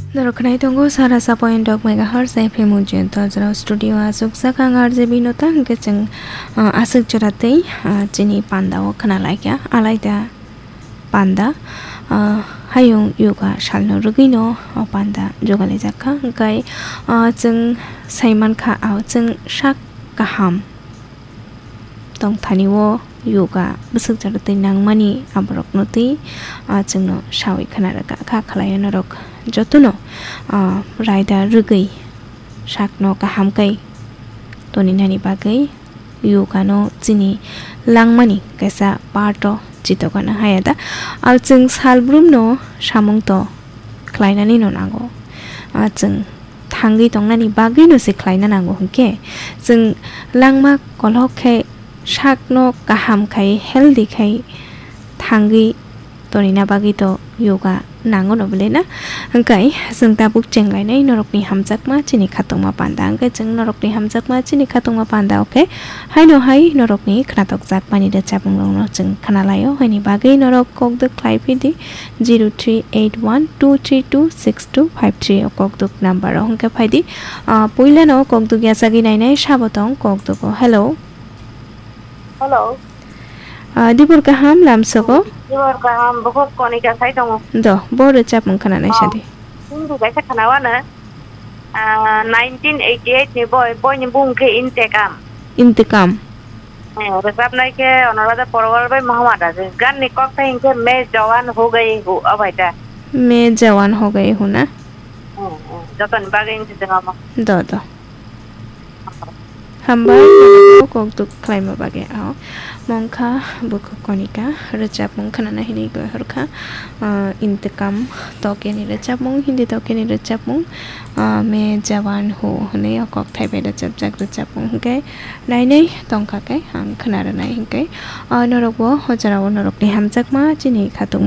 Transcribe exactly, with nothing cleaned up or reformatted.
Norok khwnai tongo sara sa point dok megahertz F M Ujiyanta jora studio aswk sakha ang R J B no ta hwnkhe chwng, ah, aswk jora tei, ah, chini panda o khna laikha alaida panda, ah, hayung yoga salno rwgwino o panda jugalaijak kha hwnkhe, ah, chwng saimankha, ah, chwng sak kaham tongthani o yoga bwswk jora twi nangmani aborokno twi, ah, chwngno sawi khna rwkha kha khlai norok jotono, ah, raida rwgwi sakno kaham khe toninani bagwi yoga no chini langmani kaisa part o chitokna haya da. Ah, chwng salbrumno samung to khlainani no nango. Ah, chwng thangwi tongnani bagwino se khlaina nango hwnkhe, chwng langma kolok khe sakno kaham khai, healthy khai thangwi tonina bagwi to yoga nango no bwle na? Hwnkhe chwng tabuk chenglainai norokni hamjakma chini khatungma panda, hwnkhe chwng norokni hamjakma chini khatungma panda, okay? Haino hai norokni khnatok jakmani rwchapmung rokno chwng khnalaio, haini bagwi norok kokdwk khlai phidi zero three eight one two three two six two five three o kokdwk number o hwnkhe phaidi. Ah, puilano kokdwk yachagwi nainai sabo tong kokdwk o. Hello. Hello. Ah, dibor kaham lamsogo? Dibor kaham, bukhuk Konika sai tongo. Do, bo rwchapmung khnanai sadi. Hindi kaisa khnawano. Ah, nineteen eighty-eight ni boi, boi ni bung khe Intekam. Intekam. Eh, rwchapnai khe Anuradha Porwal bai Mohammad Aziz. Gan ni kok thai hinkhe Main Jawan Ho Gaye Ho, o bai ta. Main Jawan Ho Gaye Ho na? Hmm, hmm. Jotoni bagwi hinkhe tongmo. Do, do. Hambai, kokdwk khlaima bagwi. O mongkha bukhuk Konika, rwchapmung khnana hinwi gwi horkha. Ah, Intekam tokeni rwchapmung, Hindi tokeni rwchapmung, ah, Main Jawan Ho hwnwi o kokthai bai rwchapjak rwchapmung hwnkhe nainai tongkha khe ang khna rwnai hwnkhe, ah, norokbo o jorao norokni hamjakma chini khatungma